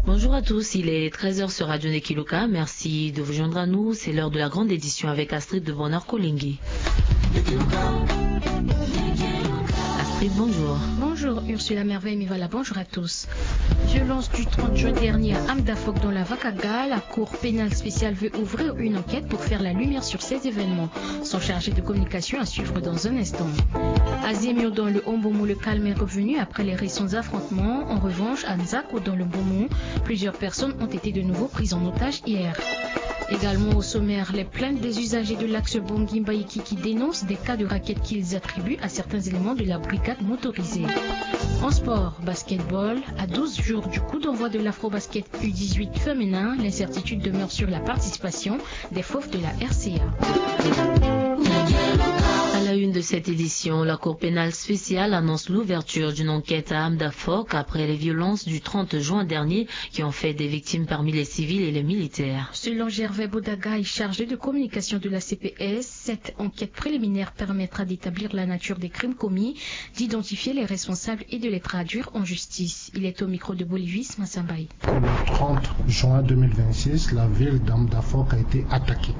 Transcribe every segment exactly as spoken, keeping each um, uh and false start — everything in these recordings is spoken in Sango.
Bonjour à tous, il est treize heures sur Radio Nekiluka. Merci de vous joindre à nous. C'est l'heure de la grande édition avec Astrid de Bonheur Kolingui. Astrid, bonjour. Bonjour Ursula Merveille Mivala, bonjour à tous. Violence du trente juin dernier à Amdafok dans la Vakaga, la cour pénale spéciale veut ouvrir une enquête pour faire la lumière sur ces événements. Son chargé de communication à suivre dans un instant. À Zemio dans le Ombomo, le calme est revenu après les récents affrontements. En revanche, à Nzako dans le Mbomo, plusieurs personnes ont été de nouveau prises en otage hier. Également au sommaire, les plaintes des usagers de l'axe Bangui-Mbaïki qui dénoncent des cas de racket qu'ils attribuent à certains éléments de la brigade motorisée. En sport, basketball, à douze jours du coup d'envoi de l'Afrobasket U dix-huit féminin, l'incertitude demeure sur la participation des Fauves de la R C A. À la une de cette édition, la Cour pénale spéciale annonce l'ouverture d'une enquête à Amdafok après les violences du trente juin dernier qui ont fait des victimes parmi les civils et les militaires. Selon Gervais Bodaga, chargé de communication de la C P S, cette enquête préliminaire permettra d'établir la nature des crimes commis, d'identifier les responsables et de les traduire en justice. Il est au micro de Bolivis Massambaye. Le trente juin deux mille vingt-six, la ville d'Amdafok a été attaquée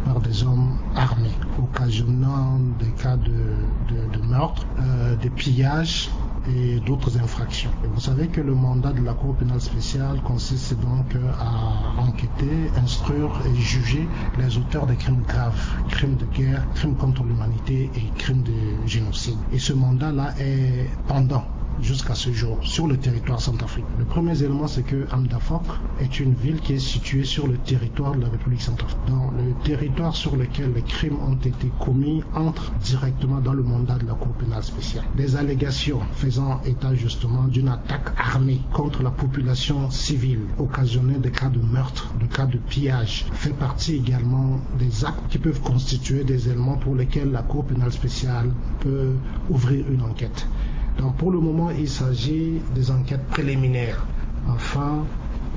par des hommes armés, occasionnant des cas de, de- de meurtre, euh, de pillage et d'autres infractions. Et vous savez que le mandat de la Cour pénale spéciale consiste donc à enquêter, instruire et juger les auteurs des crimes graves, crimes de guerre, crimes contre l'humanité et crimes de génocide. Et ce mandat-là est pendant jusqu'à ce jour sur le territoire centrafricain. Le premier élément, c'est que Amdafok est une ville qui est située sur le territoire de la République centrafricaine. Donc, le territoire sur lequel les crimes ont été commis entre directement dans le mandat de la Cour pénale spéciale. Des allégations faisant état justement d'une attaque armée contre la population civile, occasionnée des cas de meurtre, de cas de pillage, fait partie également des actes qui peuvent constituer des éléments pour lesquels la Cour pénale spéciale peut ouvrir une enquête. Donc, pour le moment, il s'agit des enquêtes préliminaires afin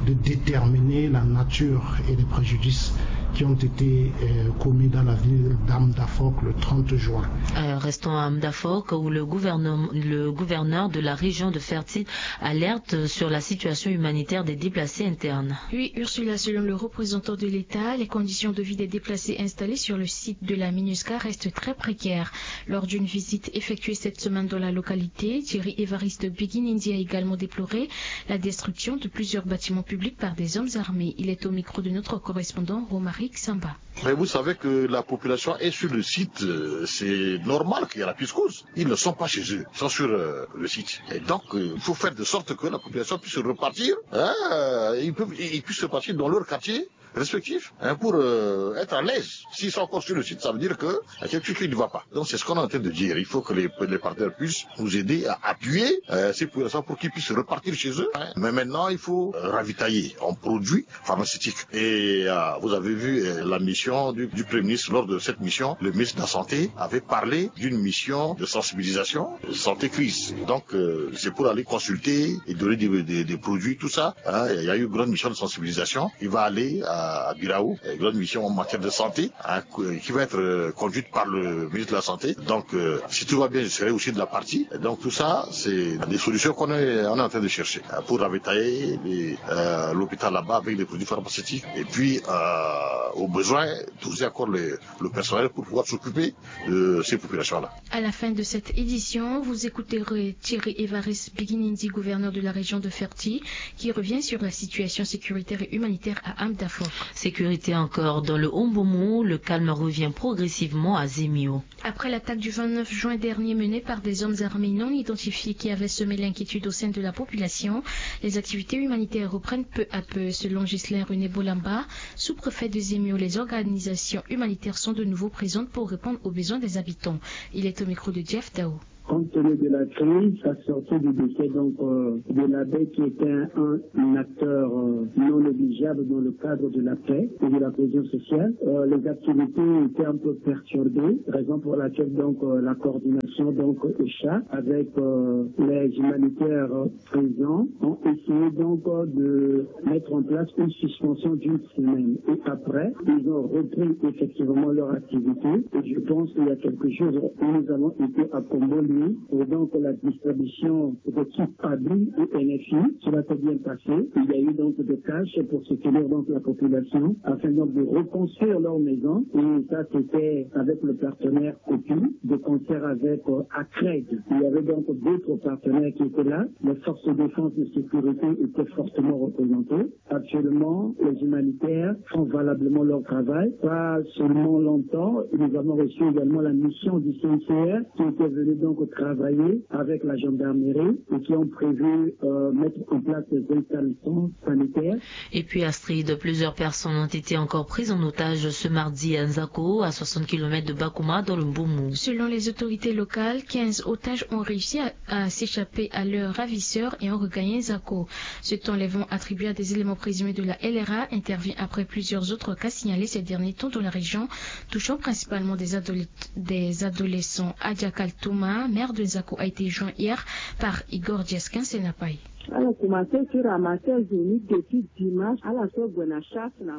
de déterminer la nature et les préjudices qui ont été, euh, commis dans la ville d'Amdafok le trente juin. Euh, restons à Amdafok, où le gouvernement, le gouverneur de la région de Fertit alerte sur la situation humanitaire des déplacés internes. Oui, Ursula, selon le représentant de l'État, les conditions de vie des déplacés installés sur le site de la MINUSCA restent très précaires. Lors d'une visite effectuée cette semaine dans la localité, Thierry Évariste Biginindi a également déploré la destruction de plusieurs bâtiments publics par des hommes armés. Il est au micro de notre correspondant Romaric Samba. Mais vous savez que la population est sur le site, euh, c'est normal qu'il y a la plus cause. Ils ne sont pas chez eux, ils sont sur, euh, le site. Et donc, euh, il faut faire de sorte que la population puisse repartir. Hein, euh, ils peuvent, ils puissent repartir dans leur quartier respectif, hein, pour, euh, être à l'aise. S'ils sont encore sur le site, ça veut dire que il y a quelque chose qui ne va pas. Donc c'est ce qu'on est en train de dire. Il faut que les, les partenaires puissent nous aider à appuyer, euh, ces populations pour qu'ils puissent repartir chez eux, hein. Mais maintenant, il faut, euh, ravitailler en produits pharmaceutiques. Et, euh, vous avez vu, euh, la mission du, du Premier ministre. Lors de cette mission, le ministre de la Santé avait parlé d'une mission de sensibilisation, de santé crise. Donc, euh, c'est pour aller consulter et donner des, des- des produits, tout ça. Hein, il y a eu une grande mission de sensibilisation. Il va aller à, à Birao, une grande mission en matière de santé, hein, qui va être, euh, conduite par le ministre de la Santé. Donc, euh, si tout va bien, je serai aussi de la partie. Et donc, tout ça, c'est des solutions qu'on est, on est en train de chercher, euh, pour ravitailler les, euh, l'hôpital là-bas avec des produits pharmaceutiques. Et puis, euh, au besoin, doser encore le, le personnel pour pouvoir s'occuper de ces populations-là. À la fin de cette édition, vous écouterez Thierry Évariste Biginindi, gouverneur de la région de Fertit, qui revient sur la situation sécuritaire et humanitaire à Amdafok. Sécurité encore dans le Ombomo, le calme revient progressivement à Zemio. Après l'attaque du vingt-neuf juin dernier menée par des hommes armés non identifiés qui avaient semé l'inquiétude au sein de la population, les activités humanitaires reprennent peu à peu. Selon Ghislain René Bolamba, sous-préfet de Zemio, les organisations humanitaires sont de nouveau présentes pour répondre aux besoins des habitants. Il est au micro de Jeff Dao. Compte tenu de la crise, à sortir du décès donc, euh, de l'abbé qui était un, un acteur, euh, non négligeable dans le cadre de la paix et de la cohésion sociale, euh, les activités étaient un peu perturbées, raison pour laquelle donc, euh, la coordination donc écha avec, euh, les humanitaires, euh, présents ont Essayé donc de mettre en place une suspension d'une semaine. Et après, ils ont repris effectivement leur activité. Et je pense qu'il y a quelques jours, nous avons été à Kombo, lui, pour donc la distribution de kits Pabi et N F I. Cela s'est bien passé. Il y a eu donc des cash pour soutenir donc la population afin donc de reconstruire leur maison. Et ça, c'était avec le partenaire Cocu, de concert avec euh, Acred. Il y avait donc d'autres partenaires qui étaient là. Les forces de défense de sécurité étaient fortement représentées. Actuellement, les humanitaires font valablement leur travail. Pas seulement longtemps, nous avons reçu également la mission du C I C R qui était venue donc travailler avec la gendarmerie et qui ont prévu euh, mettre en place des installations sanitaires. Et puis Astrid, plusieurs personnes ont été encore prises en otage ce mardi à Nzako, à soixante kilomètres de Bakouma, dans le Mbomou. Selon les autorités locales, quinze otages ont réussi à, à s'échapper à leurs ravisseurs et ont regagné Nzako. Cet enlèvement attribué à des éléments présumés de la L R A intervient après plusieurs autres cas signalés ces derniers temps dans la région, touchant principalement des, adole- des adolescents. Adja Kaltouma, maire de Nzako, a été joint hier par Igor Diaskin Senapai.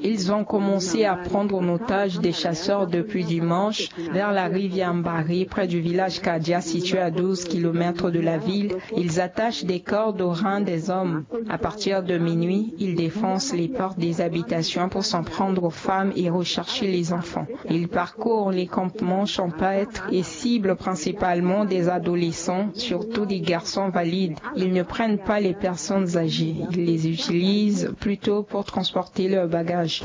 Ils ont commencé à prendre en otage des chasseurs depuis dimanche vers la rivière Mbari, près du village Kadia, situé à douze kilomètres de la ville. Ils attachent des cordes aux reins des hommes. À partir de minuit, ils défoncent les portes des habitations pour s'en prendre aux femmes et rechercher les enfants. Ils parcourent les campements champêtres et ciblent principalement des adolescents, surtout des garçons valides. Ils ne prennent pas les personnes âgées. Ils les utilisent plutôt pour transporter leurs bagages.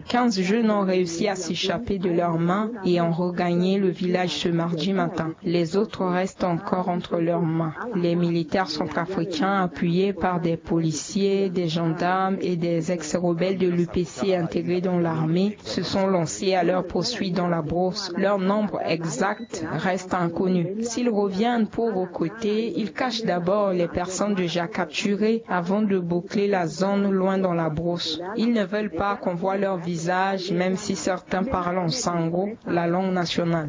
Quinze jeunes ont réussi à s'échapper de leurs mains et ont regagné le village ce mardi matin. Les autres restent encore entre leurs mains. Les militaires centrafricains, appuyés par des policiers, des gendarmes et des ex-rebelles de l'U P C intégrés dans l'armée, se sont lancés à leur poursuite dans la brousse. Leur nombre exact reste inconnu. S'ils reviennent pour recruter, ils cachent d'abord les personnes déjà capturées avant de boucler la zone loin dans la brousse. Ils ne veulent pas qu'on voit leur visage, même si certains parlent en sango, la langue nationale.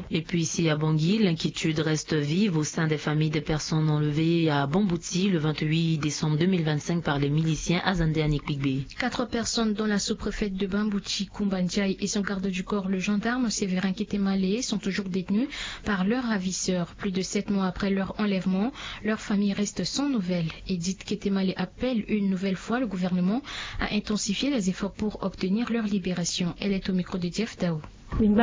Et puis ici à Bangui, l'inquiétude reste vive au sein des familles des personnes enlevées à Bambouti le vingt-huit décembre deux mille vingt-cinq par les miliciens Azande Anikpigbe. Quatre personnes, dont la sous-préfète de Bambouti, Koumba Ndiaye, et son garde du corps, le gendarme Séverin Ketemale, sont toujours détenues par leurs ravisseurs. Plus de sept mois après leur enlèvement, leur famille reste sans nouvelles. Edith Ketemale appelle une nouvelle fois le gouvernement à intensifier les efforts pour obtenir leur libération. Elle est au micro de Jeff Dao. Nous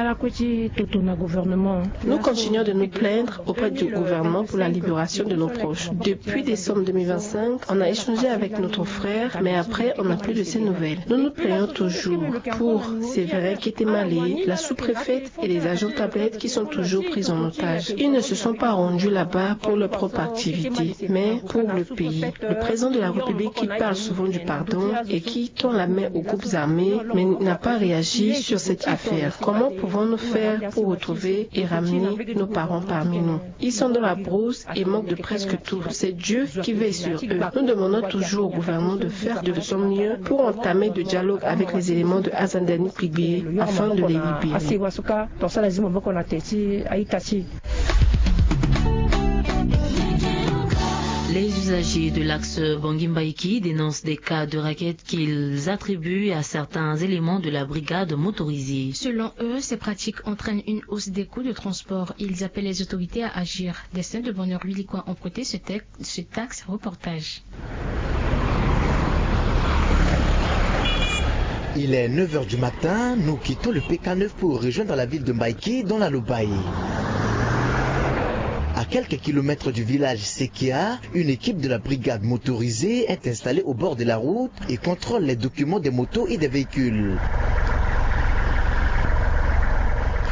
continuons de nous plaindre auprès du gouvernement pour la libération de nos proches. Depuis décembre deux mille vingt-cinq, on a échangé avec notre frère, mais après, on n'a plus de ses nouvelles. Nous nous plaignons toujours pour Séverin Ketemale, la sous-préfète et les agents tablettes qui sont toujours pris en otage. Ils ne se sont pas rendus là-bas pour leur propre activité, mais pour le pays. Le président de la République qui parle souvent du pardon et qui tend la main aux groupes armés, mais n'a pas réagi sur cette affaire. Comment pouvons-nous faire pour retrouver et ramener nos parents parmi nous ? Ils sont dans la brousse et manquent de presque tout. C'est Dieu qui veille sur eux. Nous demandons toujours au gouvernement de faire de son mieux pour entamer le dialogue avec les éléments de Azande Anikpigbe afin de les libérer. Les usagers de l'axe Bangui-Mbaïki dénoncent des cas de raquettes qu'ils attribuent à certains éléments de la brigade motorisée. Selon eux, ces pratiques entraînent une hausse des coûts de transport. Ils appellent les autorités à agir. Destin de Bonheur Huilikwa ont prêté ce, texte, ce taxe reportage. Il est neuf heures du matin, nous quittons le P K neuf pour rejoindre la ville de Mbaïki dans la Lobaye. À quelques kilomètres du village Sekia, une équipe de la brigade motorisée est installée au bord de la route et contrôle les documents des motos et des véhicules.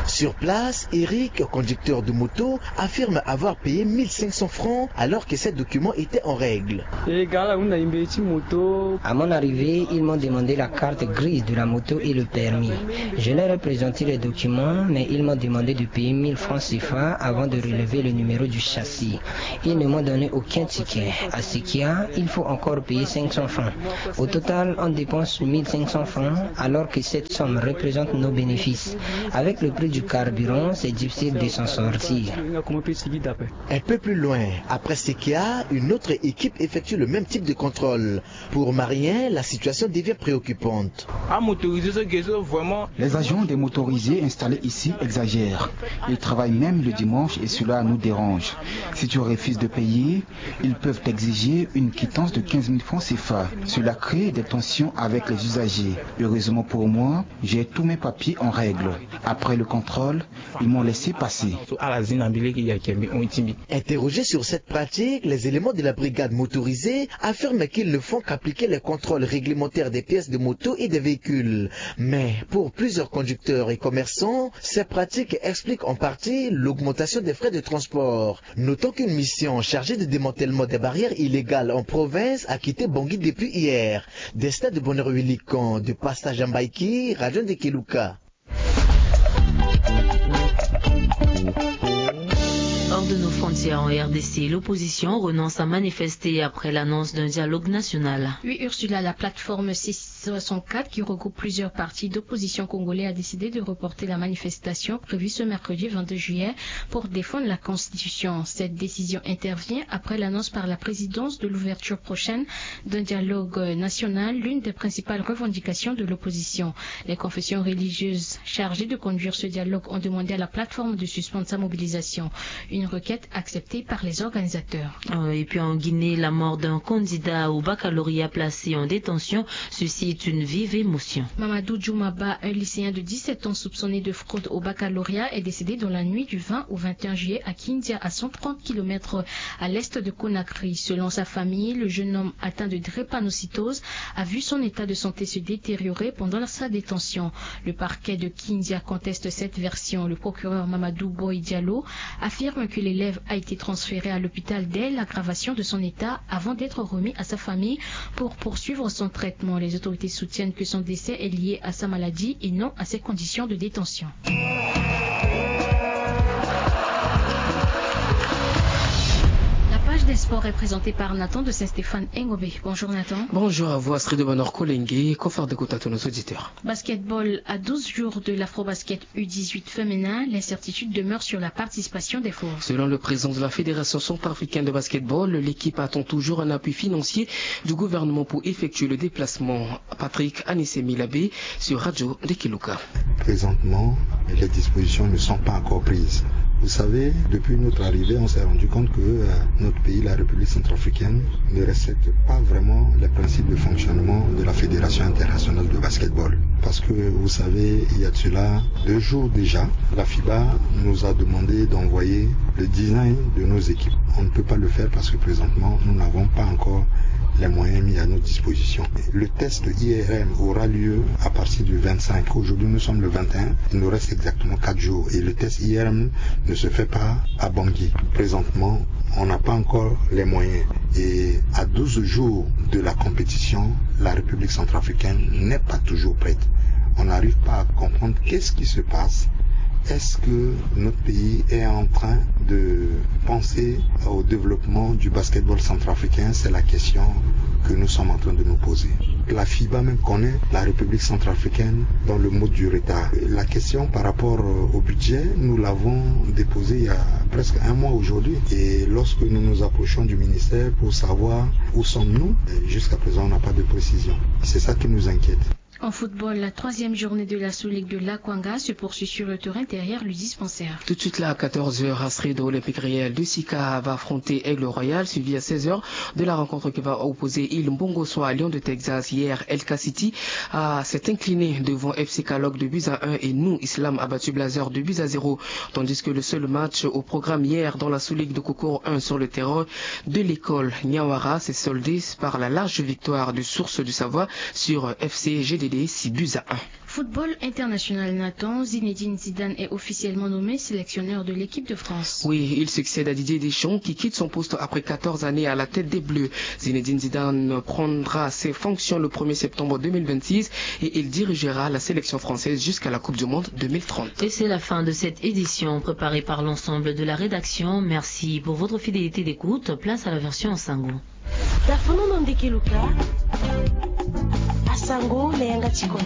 Sur place, Eric, conducteur de moto, affirme avoir payé mille cinq cents francs alors que ses documents étaient en règle. À mon arrivée, ils m'ont demandé la carte grise de la moto et le permis. Je leur ai présenté les documents, mais ils m'ont demandé de payer mille francs C F A avant de relever le numéro du châssis. Ils ne m'ont donné aucun ticket. À Sekia, il faut encore payer cinq cents francs. Au total, on dépense mille cinq cents francs, alors que cette somme représente nos bénéfices. Avec le prix du Carburant, c'est difficile de s'en sortir. Un peu plus loin, après Sekia, une autre équipe effectue le même type de contrôle. Pour Marien, la situation devient préoccupante. Les agents des motorisés installés ici exagèrent. Ils travaillent même le dimanche et cela nous dérange. Si tu refuses de payer, ils peuvent t'exiger une quittance de quinze mille francs C F A. Cela crée des tensions avec les usagers. Heureusement pour moi, j'ai tous mes papiers en règle. Après le contrôle, ils m'ont laissé passer. Interrogés sur cette pratique, les éléments de la brigade motorisée affirment qu'ils ne font qu'appliquer les contrôles réglementaires des pièces de moto et des véhicules. Mais pour plusieurs conducteurs et commerçants, ces pratiques expliquent en partie l'augmentation des frais de transport. Notons qu'une mission chargée de démantèlement des barrières illégales en province a quitté Bangui depuis hier. Destin de Bonheur Huilican, de passage à Mbaïki, Radio de Kilouka. Hors de nos frontières, en R D C, l'opposition renonce à manifester après l'annonce d'un dialogue national. Oui, Ursula, la plateforme six soixante-quatre, qui regroupe plusieurs partis d'opposition congolais, a décidé de reporter la manifestation prévue ce mercredi vingt-deux juillet pour défendre la Constitution. Cette décision intervient après l'annonce par la présidence de l'ouverture prochaine d'un dialogue national, l'une des principales revendications de l'opposition. Les confessions religieuses chargées de conduire ce dialogue ont demandé à la plateforme de suspendre sa mobilisation. Une requête acceptée par les organisateurs. Euh, et puis en Guinée, la mort d'un candidat au baccalauréat placé en détention suscite une vive émotion. Mamadou Djoumaba, un lycéen de dix-sept ans soupçonné de fraude au baccalauréat, est décédé dans la nuit du vingt au vingt et un juillet à Kindia, à cent trente kilomètres à l'est de Conakry. Selon sa famille, le jeune homme atteint de drépanocytose a vu son état de santé se détériorer pendant sa détention. Le parquet de Kindia conteste cette version. Le procureur Mamadou Boy Diallo affirme que l'élève a été transféré à l'hôpital dès l'aggravation de son état avant d'être remis à sa famille pour poursuivre son traitement. Les autorités soutiennent que son décès est lié à sa maladie et non à ses conditions de détention. La page des sports est présentée par Nathan de Saint-Stéphane Engobe. Bonjour Nathan. Bonjour à vous Astrid de Bonheur Kolenge, confrère de Kotato, nos auditeurs. Basketball à douze jours de l'Afrobasket U dix-huit féminin, l'incertitude demeure sur la participation des Fauves. Selon le président de la Fédération centrafricaine de basketball, l'équipe attend toujours un appui financier du gouvernement pour effectuer le déplacement. Patrick Anissemi Labé sur Radio de Kilouka. Présentement, les dispositions ne sont pas encore prises. Vous savez, depuis notre arrivée, on s'est rendu compte que euh, notre pays, la République centrafricaine, ne respecte pas vraiment les principes de fonctionnement de la Fédération internationale de basketball. Parce que, vous savez, il y a de cela deux jours déjà, la FIBA nous a demandé d'envoyer le design de nos équipes. On ne peut pas le faire parce que présentement, nous n'avons pas encore les moyens mis à notre disposition. Le test I R M aura lieu à partir du vingt-cinq. Aujourd'hui, nous sommes le vingt et un. Il nous reste exactement quatre jours. Et le test I R M ne se fait pas à Bangui. Présentement, on n'a pas encore les moyens. Et à douze jours de la compétition, la République centrafricaine n'est pas toujours prête. On n'arrive pas à comprendre qu'est-ce qui se passe. Est-ce que notre pays est en train de penser au développement du basketball centrafricain ? C'est la question que nous sommes en train de nous poser. La FIBA même connaît la République centrafricaine dans le mode du retard. La question par rapport au budget, nous l'avons déposée il y a presque un mois aujourd'hui. Et lorsque nous nous approchons du ministère pour savoir où sommes-nous, jusqu'à présent, on n'a pas de précision. C'est ça qui nous inquiète. En football, la troisième journée de la sous-ligue de l'Akwanga se poursuit sur le terrain derrière le dispensaire. Tout de suite là, à quatorze heures, Astrid, Olympique Réel de Sika va affronter Aigle Royal, suivi à seize heures de la rencontre qui va opposer Il Mbongo Soa à Lions de Texas. Hier, L K City a s'est incliné devant F C Kalok de buts à un et Nou Islam a battu Blazers de buts à zéro. Tandis que le seul match au programme hier dans la sous-ligue de Kokoro un sur le terrain de l'école Niawara s'est soldé par la large victoire de Source du Savoie sur F C G D D, six buts à un. Football international, Nathan, Zinedine Zidane est officiellement nommé sélectionneur de l'équipe de France. Oui, il succède à Didier Deschamps qui quitte son poste après quatorze années à la tête des Bleus. Zinedine Zidane prendra ses fonctions le premier septembre deux mille vingt-six et il dirigera la sélection française jusqu'à la Coupe du Monde deux mille trente. Et c'est la fin de cette édition préparée par l'ensemble de la rédaction. Merci pour votre fidélité d'écoute. Place à la version en sango. Tafono no ndeke luka asango na yanga tikoto.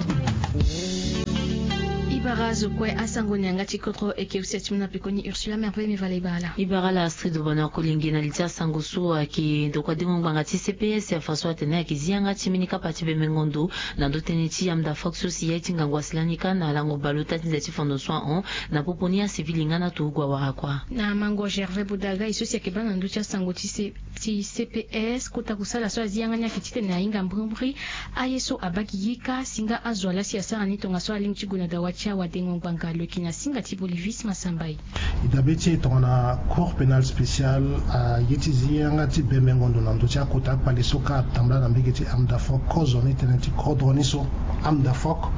Bara zo kue asango na yanga ti kodro eke usia ti mu na pekoni Ursula Merve Mivala Ibala. Ibara la Astrid Bonheur Kolenge na li ti asango so ayeke ndokua dengo ngbanga ti C P S afa so atene ayeke zi yanga ti mbeni kapa ti bembengo ndo na ndö tënë ti Amda Fox so si ya ye ti ngangu asi lani kâ na lango baleota ti nze ti fondo so ahon na popo ni acivil e nga na turugu awara kua. Na mango Gervais Bodaga e so si ayeke baa na ndö ti asango ti C ti C P S kota kusala so azi yanga ni ayeke titene ahinga mbrimbri aye so abaa gigi kâ si nga azo ala si asara ni tongaso alingbi ti gue na dawa ti awadengo ngbanga lo yeke na singa ti Bolivis Masambai. E dabe ti e tongana Cour pénale spéciale aye ti zi yanga ti bembengo ndo na ndö ti akota akpale so kâ atambula na mbege ti Amda Fox kozo ni tënë ti kodro ni so. Amda Fox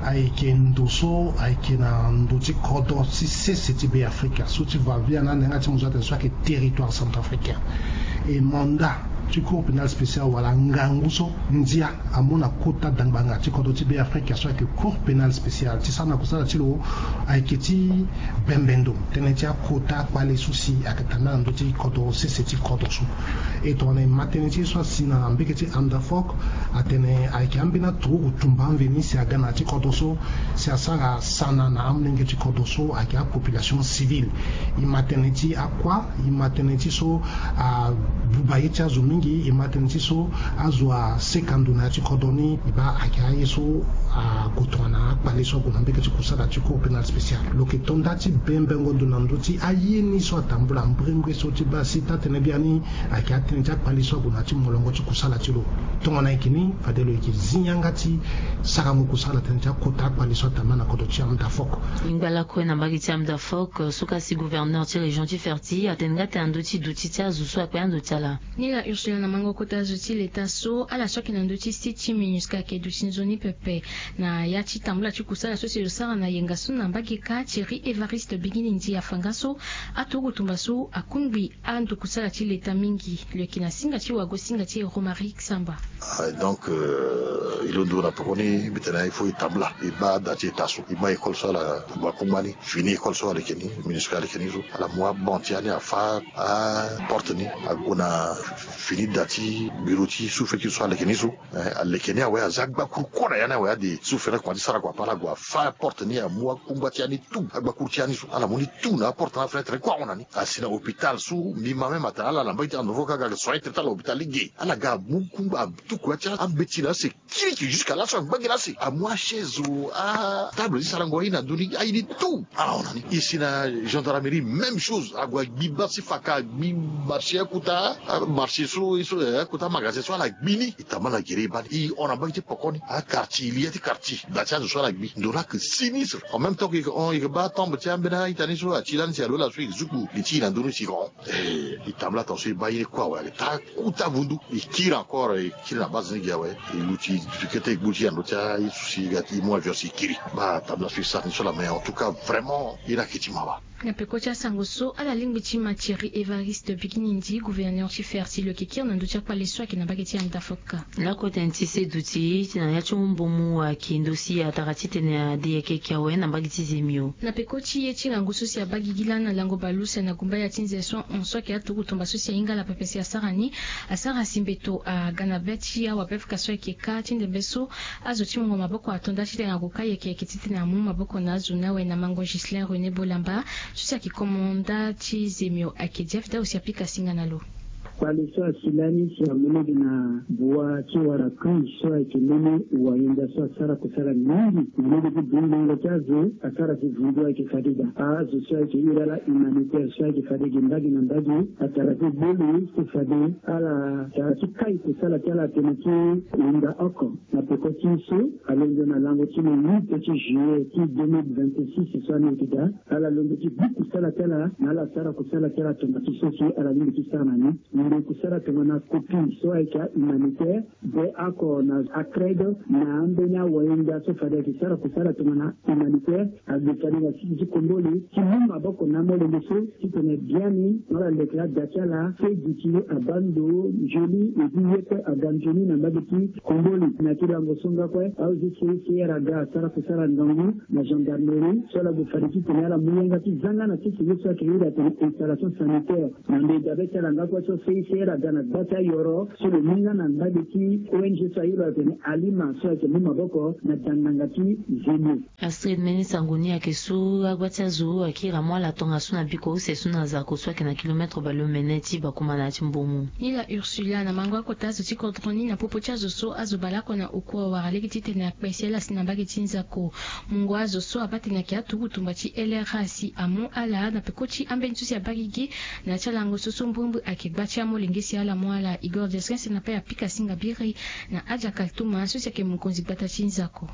ayeke ndo so ayeke na ndo ti kodro ti sese ti Be Afrika so ti va via na ande yanga ti mo zo atene so ayeke territoire centrafricain. E mandat ti Cour pénale spéciale wala ngangu so ndia amu na kota dangbanga ti kodro ti Be Afrika so ayeke Cour pénale spéciale ti sara na kusala ti lo ayeke ti bembe ndo tënë ti akota akpale so si ayeke tambula na ndö ti kodro sese ti kodro so. E tongana e ma tënë ti ye so asi na mbege ti Amda Fox atene ayeke ambeni aturugu tumba amveni si aga na ya ti kodro so si asara sana na amolenge ti kodro so ayeke apopulation civile. E ma tënë ti akua, e ma tënë ti so abuba ye ti azo mingi, e ma tënë ti so azo aseka ndo na ya ti kodro ni. E baa ayeke aye so ague tongana akpale so ague na mbege ti kusala ti Cour pénale spéciale. Lo yeke to nda ti bembengo ndo na ndö ti aye ni so atambula mbrimbri so ti baa si taa-tënë biani ayeke atënë ti akpale so ague na ya ti molongo ti kusala ti lo. Tongana ayeke ni fade lo yeke zi yanga ti sarango kusala tënë ti akota akpale so atambula na kodro ti Amda Fox. Ngba lakue na mbage ti Amda Fox so kâ si gouverneur ti région ti Ferti atene nga tene na ndö ti duti ti azo so akpe ando ti ala. Ni la Ursula na mango kota azo ti leta so ala so ayeke na ndö ti site ti MINUSCA ayeke duti nzoni pepe na ya ti tambula ti kusala so si lo sara na yenga so na mbage kâ. Thierry Évariste Bigini Ndi afa nga so aturugu tumba so akungbi ando kusala ti leta mingi. Lo yeke na singa ti wago singa ti Romaric Samba. Ah, donc, euh, e londo na pekoni mbi tene il faut e tambula e baa da ti eta so e ma école so ala gua kungba ni. Fini école so aleke ni, MINUSCA aleke ni so ala mu abon ti ya ni afa aporte ni ague na fini da ti bureau ti sous-préfecture so aleke ni so. Eh, aleke ni awe aza agbakuru kue na ya ni awe ade sous-préfet kua ti sara kua ape ala gue afa aporte ni amu akungba ti ya ni tout, agbakuru ti ya ni so ala mu ni tout na aporte na afenêtre kue ahon na ni. Asi na hôpital so mbi ma même atene ala na mbage ti Amda Fox kâ aga soin ti ala hôpital lege ala ga amu kungba atuku ya ti ambeti na ase kiriki jusqu'à laso angba gi na ase amu achaise o atable ti sarango aye na ndö ni aye ni tout. Ala hon na ni. E si na gendarmerie même chose ague agbi bâ ti faka agbi marché akota amarché so e so akota amagasin so ala gbi ni. E tambula na gere e baa ni e hon na mbage ti poko ni. Aquartier e li ya ti quartier da ti azo so ala gbi ndo laa ayeke sinistre. En même temps que e yeke hon e yeke baa tombe ti ambeni a-ita ni so ati lani si alo ala so e yeke zuku li ti e na ndö ni si e yeke hon. Eh, e tambula tongaso e baa ye ni kue awe ayeke taa kuta vundu. E kiri encore e kiri na base ni gi awe e luti kete e gbu ti e na ndö ti aye so si e ga ti e mu avion si e kiri. Baa tambula so e sara ni so laa mais en tout cas vraiment ye ni ayeke ti mawa. Na peko ti asango so ala lingbi ti ma Thierry Évariste Bigini Ndi gouverneur ti Ferti lo yeke kiri na ndö ti akpale so ayeke na mbage ti Amda Fox. Lakue tënë ti seduti ti na ya ti hon mbomu ayeke ndo si atara titene ade ayeke yeke awe na mbage ti Zemio. Na peko ti ye ti ngangu so si abaa gigi lani na lango baleuse na gumba ya ti nze so ahon so ayeke aturugu tumba so si ahinga ala pepe si asara ni. Asara si mbeto aga na be ti awapefuka so ayeke kâ ti ndembe so azo ti mungo maboko ato nda titene ague kâ yeke yeke titene amu maboko na azo ni awe na mango Ghislain René Bolamba so si ayeke komanda ti Zemio ayeke dia fida aussi apika singa na lo. Kpale so asi lani si amu lege na bua ti wara kui so ayeke mbeni wayenda so asara kusala mingi na lege ti bundingo ti azo asara si vundu ayeke fade daa azo so ayeke iri ala humanitaire so ayeke fade gi mbage na mbage atara ti boli so fade ala tara ti kai kusala ti ala tene ti hunda oko. Na peko ti so alondo na lango ti le huit ti juillet ti deux mille vingt-six so ani yeke daa ala londo ti bi kusala ti ala na ala sara kusala ti ala tongana ti so si ala lingbi ti sara na ni. Mbi kusala tongana copie so ayeke ahumanitaire be oko na acred na ambeni awahinda so fade ayeke sara kusala tongana humanitaire. Ague fade na siki ti komboli ti mu maboko na amolenge so titene biani ala leke ada ti ala se duti abaa ndo nzoni edi ye kue aga nzoni na mbage ti komboli na ti lango so nga kue aozi seri seri aga asara kusala ngangu na gendarmerie so ala gue fade titene ala mu yanga ti zanga na sese ye so ayeke iri atene installation sanitaire na mbe dabe ti ala nga kue so Isi ere aga na gba ti ayoro so lo mu nga na ndali ti ong so aye lo atene alima so ayeke mu maboko na dandanga ti zemi. Astrid, mbeni sango ni ayeke so agba ti azo akiri amu ala tongaso na biko use so na zako so ayeke na kilometre baleomene ti bakuma na ya ti mbomu. Nila ursula na mango akota azo ti kodro ni na popo ti azo so azo baleoko na oko awara lege titene akpe si ala si na mbage ti nzako. Mungo azo so abaa tene ayeke aturuku tumba ti lra si amu ala na peko ti ambeni so si abaa gigi. Na ya ti alango so so mbrimbri ayeke gba ti amolenge si ala mu ala igor desrin si na pe apika singa biri. Na aja kaltuma so si ayeke mokonzi gbata ti nzako.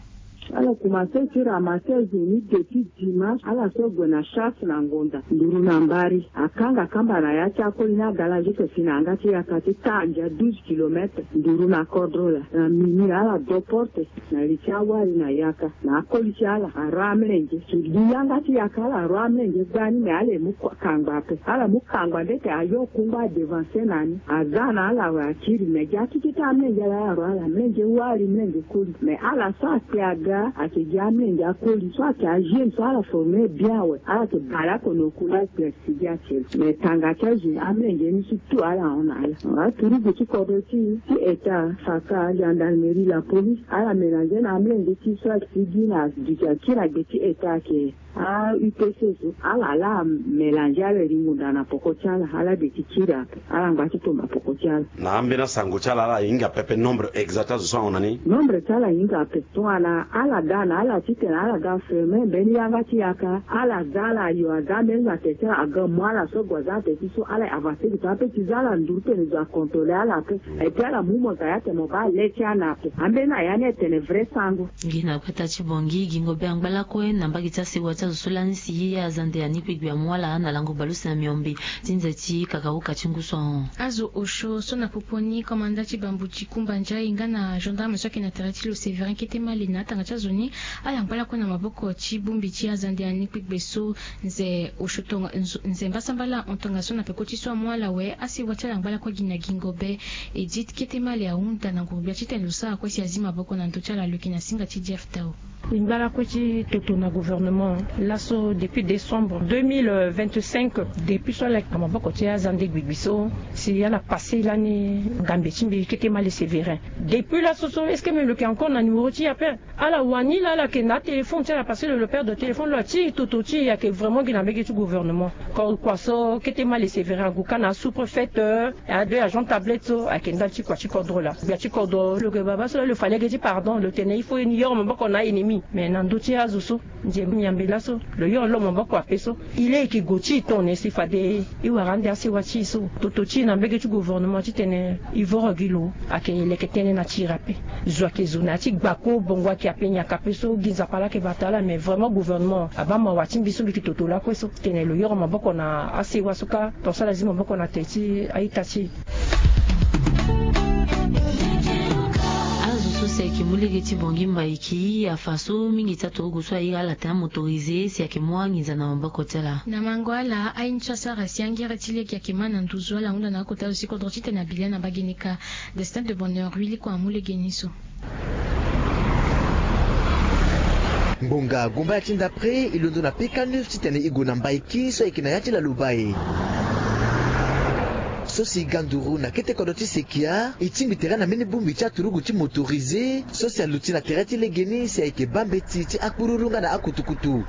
Ala komanse ti ramase azo ni de ti dimanche ala so ague na chasse na ngonda nduru na mbari akanga kamba na ya ti akoli ni agala juste si na yanga ti yaka ti tandia douze kilometre nduru na kodro laa na mini ala do porte na li ti awali na yaka na akoli ti ala aro amlenge. Li yanga ti yaka ala aro amlenge gbani me ala e mu kangba ape ala mu kangba nde eke ayo kungba adevanse na ni aga na ala awe akiri me gi akeke ti amlenge ala aro ala mlenge wali mlenge koli me ala so akpe aga ayeke gi amlenge akoli so ayeke ajeune so ala forme bien awe ala yeke baleoko na oku la. Sigi ake me tanga ti azo amlenge ni ti tu ala hon na ala. Aturugu ti kodro ti ti eta faka gendarmerie la police ala mélange na amlenge ti so asigi na duti akiri agbe ti eta ake a upc so ala ala mélange ala eri ngunda na poko ti ala ala de ti kiri ape. Ala ngba ti tomba poko ti ala. Na ambeni asango ti ala ala hinga pepe nombre exact azo so ahon na ni. Nombre ti ala hinga ape tongana ala ga na ala titene ala ga ferme mbeni yanga ti yaka ala ga ala ayo aga mbeni na tete aga mu ala so gue aza na tete so ala avanse gi to ape ti za ala nduru tene zo akontrole ala ape. Epui ala mu mo ga ya tene mo baa le ti ana ape ambeni na ya ni etene vrai sango. Gi na kpeta ti bongi gingo be angba lakue na mbage ti asewa ti azo so lani si ye azande ani kpegbe amu ala na lango baleuse na miombe ti nze ti kakauka ti ngu so ahon. Azo osio so na popo ni komanda ti bambu ti kumba nzai nga na gendarme so ayeke na tere ti lo séverin kete male na atanga ti azo ni ala ngba lakue na maboko ti bongbi ti azande ani kpegbe so. Nze osio tonga nze mbasambala ahon tongaso na peko ti so amu ala awe asewa ti ala ngba lakue gi na gingo be. Edit kete male ahunda na nguru-gbia titene lo sara kue si azi maboko na ndö ti ala lo yeke na singa ti jeff tao. E ngba lakue ti toto na gouvernement laso depuis décembre deux mille vingt-cinq. Depuis so ala yeke na maboko ti azande gbigbi so si ala passe lani ngambe ti mbi kete male séverin. Depuis laso so est ce que même lo yeke encore na numéro ti e ape? Ala wani laa ala yeke na atéléphone ti ala parce que lo lo perdre téléphone lo ati toto ti e ayeke vraiment gi na mbege ti gouvernement. Kua so kete male séverin agu ka na asous-préfet. Ado ya jean tablette so ayeke ndali ti kua ti kodro laa gbia ti kodro lo yeke baba so laa lo fa lege ti pardon lo tene il faut e ni yoro maboko na a-ennemi. Mais na ndö ti azo so nze miambe laso lo yoro lo maboko ape so. E le e yeke go ti e tone si fade e wara ande asewa ti e so. Toto ti e na mbege ti gouvernement titene e voro gi lo ayeke leke tënë na ti e ape. Zo ayeke zo na ya ti gbako bongo ayeke ape nyaka ape so gi nzapa laa ayeke bata ala mais vraiment gouvernement abaa mawa ti mbi so mbi yeke toto lakue so tene lo yoro maboko na asewa so kâ. Ton so ala zi maboko na te ti a-ita ti e. Azo so si ayeke mu lege ti bongi mbaiki afa so mingi ti aturugu so airi ala tene amotorisé si ayeke mu anginza na maboko ti ala. Na mango ala aye ni so asara si angere ti lege ayeke ma na nduzu ala hunda na akota zo ti kodro titene abila na mbage ni kâ. Destin de bonheur huili kua amu lege ni so. Ngbonga gumba ya ti ndapre e londo na peka neuf titene e gue na mbaiki so ayeke na ya ti laloba e. So si e ga nduru na kete kodro ti sekia e tingbi tere na mbeni bongbi ti aturugu ti motorisé so si aluti na tere ti legeni si ayeke baa mbeti ti akpururu nga na akutukutu.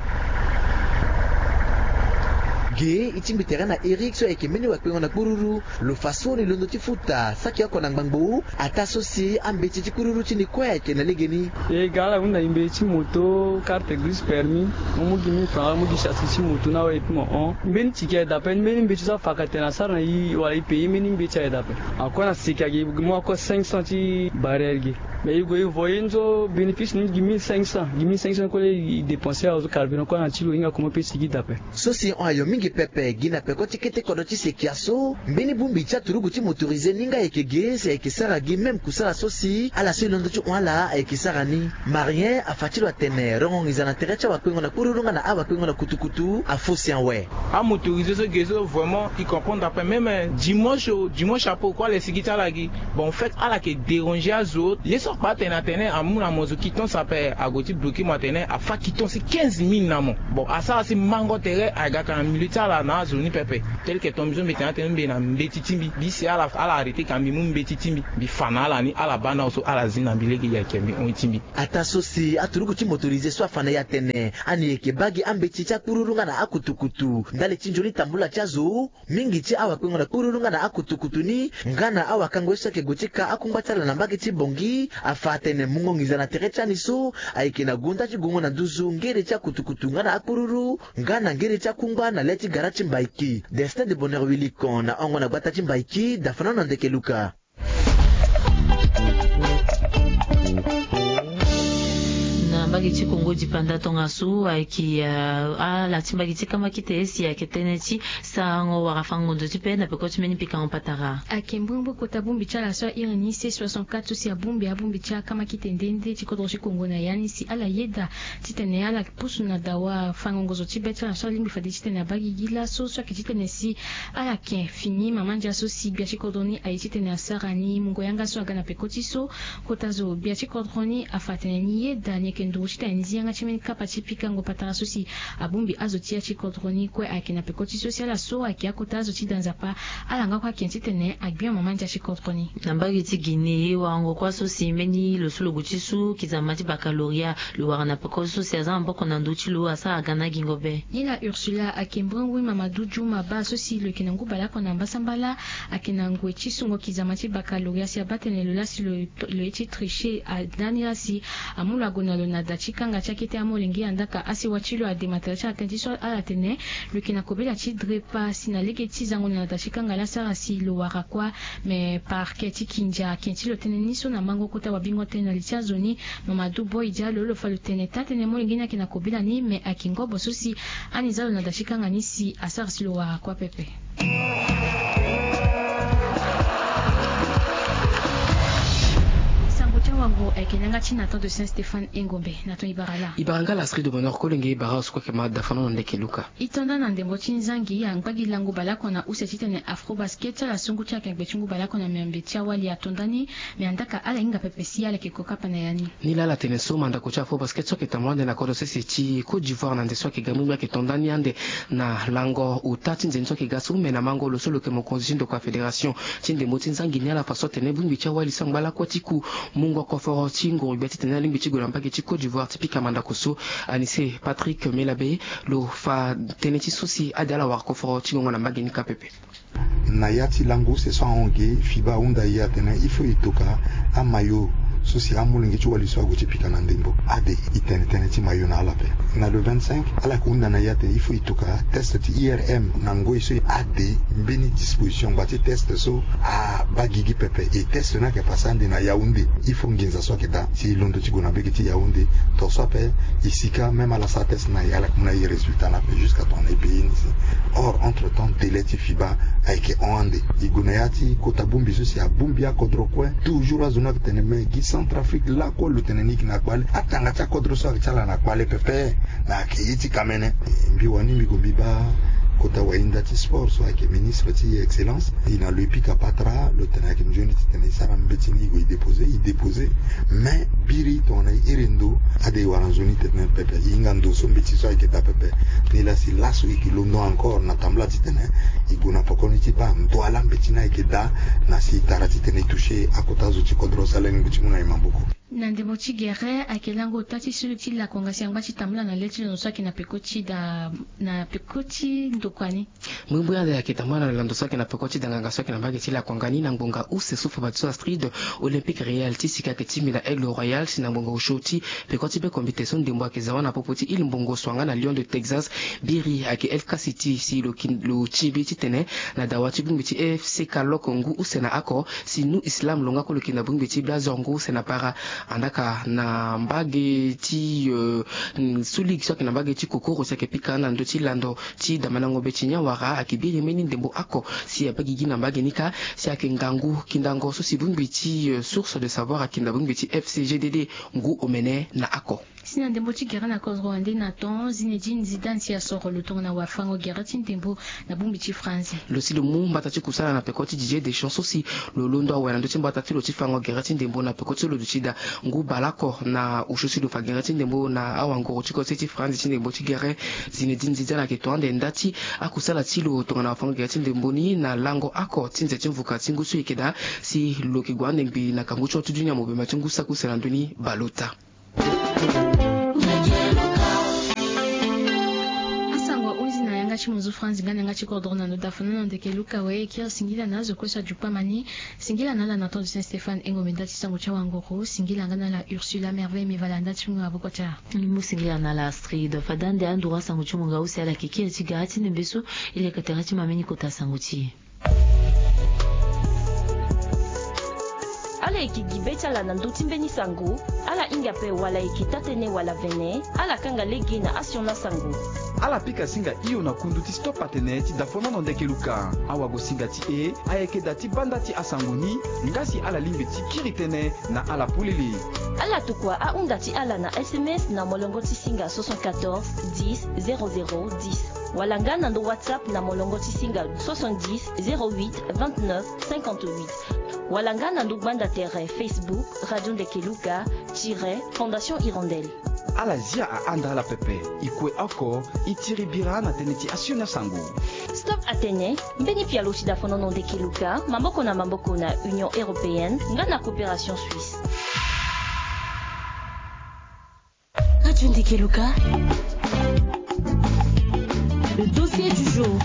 Ge e tingbi tere na eric so ayeke mbeni wakpengo na kpururu. Lo fa so ni londo ti futa saki oko na ngbangbo ataa so si ambeti ti kururu ti ni kue ayeke na legeni. E ga ala hunda e mbeti ti moto karte grise permis. Mo mu gi mille franc wala mo mu gi chassis ti moto ni awe epui mo hon mbeni tiki ayeke daa ape ni mbeni mbeti so afaka tene asara na e wala e paye mbeni mbeti ayeke daa ape. Akue na seki ayeke gi mo akue cinq cents ti barrière gi. Mais e gue e voye ni so bénéfice ni gi mille cinq cents gi mille cinq cents kue laa e dépenser azo carburant kue na ti lo hinga comment pe sigi daa ape. So si e hon ayo mingi pepe gi na peko ti kete kodro ti sekia so mbeni bongbi ti aturugu ti motorisé ni nga ayeke ge si ayeke sara gi même kusala so si ala so e londo ti hon ala ayeke sara ni. Marien afa ti lo atene rongo nginza na tere ti awakpengo na kpururu nga na awakpengo na kutukutu afo si awe. Amotorisé so ge so vraiment e comprendre ape même dimanche o dimanche apo kue ala e sigi ti ala gi. Bon en fait ala yeke déranger azo ye so akpa atene atene amu na mo zo quittance ape ague ti bloquer mo atene afa quittance ti quinze mille na mo. Bon asara si mango tere aga ka na milieu ti Ala na azo ni pepe. Tel que ton mbi so mbi tene atene mbi na mbeti ti mbi, mbi si ala, ala arrêté ka mbi mu mbeti ti mbi, mbi fa na ala ni, ala baa na azo so ala zi na mbi lege, ayeke mbi hon ti mbi. Ataa so si aturuku ti motorisé so afa na e atene ani yeke baa gi ambeti ti akpururu nga na akutukutu ndali ti nzoni tambula ti azo. Mingi ti awakpengo na kpururu nga na akutukutu ni nga na awakango ye so ayeke gue ti ka akungba ti ala na mbage ti Bangui afa atene mungo nginza na tere ti ani so ayeke na gonda ti gongo na nduzu ngere ti akutukutu nga na akpururu nga na ngere ti akungba na le ti gara ti Mbaiki. Destin de Bonheur Wilikon na hongo na gbata ti Mbaiki, Dafana na ndeke Luka. Na mbage ti Kongo dipanda tongaso ayeke, ah, ala ti mbage ti kamakite si ayeke tënë ti sarango wala fango nzoni ti pe na peko ti mbeni pikango patara. Ayeke mbrimbri kota bongbi ti ala so a iri ni C soixante-quatre so si abongbi abongbi ti akamakite nde nde ti kodro ti Kongo na ya ni si ala yeda titene ala pusu na dawa fango ngonzo ti be ti ala so alingbi fade titene abaa gigi laso so ayeke titene si ala yeke fini mama ndia so si gbia ti kodro ni aye titene asara ni mungo yanga so aga na peko ti so. Kota zo gbia ti kodro ni afa atene ni yeda ni yeke nduru titene ni zi yanga ti mbeni kapa ti pikango patara so si abongbi azo ti ya ti kodro ni kue ayeke na peko ti so si ala so ayeke akota azo ti da nzapa. Ala nga kue ayeke titene agbia mama ndia ti kodro ni. Na mbage ti Guinée warango kuâ so si mbeni lo so lo gue ti su kizama ti baccalauréat lo wara na peko so si aza maboko na ndö ti lo asara ga na agingo be. Ni la Ursula ayeke mbrimbri Mamadou Djouma baa so si lo yeke na ngu baleoko na mbasambala ayeke na ngoi ti sungo kizama ti baccalauréat si abaa tene lo laa si lo, lo ye ti tricher. Ndani laa si amu lo ague na lo na da ti kanga ti akete amolenge andaa ka asewa ti lo adema tala ti ala tënë ti so ala tene lo yeke na kobela ti drepa si na lege ti zango na da ti kanga laa asara si lo wara kuâ. Me parquet ti Kindia aken ti lo tënë ni so na mango kota wabingo tënë na li ti azo ni. Mamadou Boy Diallo lo fa lo tene taa-tënë molenge ni ayeke na kobela ni me ayeke ngobo so si ani za lo na da ti kanga ni si asara si lo wara kuâ pepe. Sango ti awango ayeke na yanga ti Nathan de Saint Stéphane Engombe. Nathan, e bara laa? E bara nga la Astrid de Bonheur Kolenge, e bara azo so kue ayeke ma da fano na ndeke Luka. E to nda na ndembo ti nzangi angba gi lango baleoko na use titene Afrobasket ti ala so ngu ti ala ayeke na gbe ti ngu baleoko na miombe ti awali ato nda ni. Me andaa ka ala hinga pepe si ala yeke ko kapa na ya ni. Ni laa ala tene so mandako ti Afrobasket so ayeke tambula ande na kodro sese ti Côte d'Ivoire na nze so ayeke ga mbirimbiri ayeke to nda ni ande na lango ota ti nze ni so ayeke ga so me na mango lo so lo yeke mokonzi ti ndokua fédération ti ndembo ti nzangi ni ala fa so atene bongbi ti awali so angba lakue ti ku mungo koforo ti nguru gbia titene alingbi ti gue na mbage ti Côte d'Ivoire ti pika mandako so. Anise Patrick Melabe lo fa tënë ti so si ade ala wara koforo ti ngongo na mbage ni kâ pepe. Na ya ti lango use so ahon ge, FIBA ahunda e atene il faut e toka amayo so si amolenge ti wali so ague ti pika na ndembo. Ade e tene tënë ti mayo na ala ape. Na le vingt-cinq ala yeke hunda na e atene il faut e toka test ti IRM na ngoi so ade mbeni disposition ngba ti test so abaa gigi pepe. E test ni ayeke pase ande na Yaoundé. Il faut nginza so ayeke daa si e londo ti gue na mbage ti Yaoundé. Tongaso ape e sika même ala sara test na e ala yeke mu na e résultat ni ape jusqu'à tongana e paye ni si. Or entre temps délai ti FIBA ayeke hon ande. E gue na ya ti kota bongbi so si abongbi akodro kue. Toujours azo ni ayeke tene me gi Centrafrique lakue lo tene ni yeke na kpale. Atanga ti akodro so ayeke ti ala na kpale pepe. Na ayeke ye ti kamene. Mbi wani mbi gue mbi baa kota wahinda ti sport so ayeke ministre ti excellence. E na lo e pika patara lo tene ayeke nzoni titene e sara mbeti ni e gue e déposer e déposer. Mais biri tongana e iri ndo ade e wara nzoni titene pepe e hinga ndo so mbeti so ayeke daa pepe. Nilaa si laso e yeke londo encore na tambula titene e gue na poko ni ti baa ndo ala mbeti ni ayeke daa. Na si e tara titene e toucher akota zo ti kodro so ala lingbi ti mu na e maboko. Na ndembo ti gere ayeke lango ota ti sulu ti lakonga si angba ti tambula na le ti londo so ayeke na peko ti da na peko ti ndokua ni. Mbrimbri ande ayeke tambula na lando so ayeke na peko ti danganga so ayeke na mbage ti lakonga ni na ngbonga use so fa bati so Astrid. Olympique Real ti sika ayeke ti mbi na Aigle Royal si na ngbonga osio ti peko ti bekombite so ndembo ayeke za wâ na popo ti ile mbongo so wanga na Lion de Texas. Biri ayeke El Caciti si lo ti mbi titene na dawa ti bongbi ti FC Kalok ngu use na oko. Si Nu Islam lo nga kue lo yeke na bongbi ti Blazor ngu use na para. Andaa ka na mbage ti, euh, su ligue so ayeke na mbage ti kokoro si ayeke pika na ndö ti lando ti damandango mbeti ni awara ayeke biri mbeni ndembo oko si abaa gigi na mbage ni kâ. Si ayeke ngangu kindango so si bongbi ti, euh, Source de Savoir ayeke na bongbi ti FC GDD ngu omene na oko. Si na ndembo ti gere na kodro wande na ton, Zinedine Zidane si asoro lo tongana wafango gere ti ndembo na bongbi ti France. Lo si lo mu mbata ti kusala na peko ti Didier Deschamps so si lo londo awe na ndö ti mbata ti lo ti fango gere ti ndembo na peko ti lo duti daa ngu baleoko na osio si lo fa gere ti ndembo na awanguru ti kose ti France ti ndembo ti gere. Zinedine Zidane ayeke to ande nda ti akusala ti lo tongana wafango gere ti ndembo ni na lango oko ti nze ti mvuka ti ngu so e yeke daa si lo yeke gue ande ngbii na kangu ti hon ti dunia mobemba ti ngu saki use na ndö ni baleota. Asango ahunzi na yanga ti monzu France nga na yanga ti kodro na ndo dafana na ndeke luka we kiri singila na azo kue so adukpama ni. Singila na ala na temps de Saint Stéphane engombe nda ti sango ti awanguru. Singila nga na ala Ursula Merveille Mivala nda ti ngu aboko ti ala. Ni mu singila na ala Astrid fada nde anduru asango ti mo nga use ala yeke kiri ti gara ti ndembe so. E leke tere ti ma mbeni kota sango ti e. Ala yeke gi be ti ala na ndö ti mbeni sango. Ala hinga ape wala e yeke taa-tënë wala vene, ala kanga lege na asioni asango. Ala pika singa hio na kundu ti Stop Atene ti dafonono ndeke luka. Awagosinga ti e ayeke daa ti banda ti asango ni. Nga si ala lingbi ti kiri tënë na ala polele. Ala tokua ahunda ti ala na S M S na molongo ti singa soixante-quatorze dix zéro zéro dix. Wala nga na ndo WhatsApp na molongo ti singa soixante-dix zéro huit vingt-neuf cinquante-huit. Wala nga na ndo gbanda tere Facebook Radio Ndeke Luka tiret Fondation Hirondelle. Ala zia ahanda ala pepe. E kue oko e tiri bira na tënë ti asioni asango. Stop Atene, mbeni pialo ti dafonono ndeke luka maboko na maboko na Union Européenne nga na Coopération Suisse. Radio Ndeke Luka. Le dossier du jour.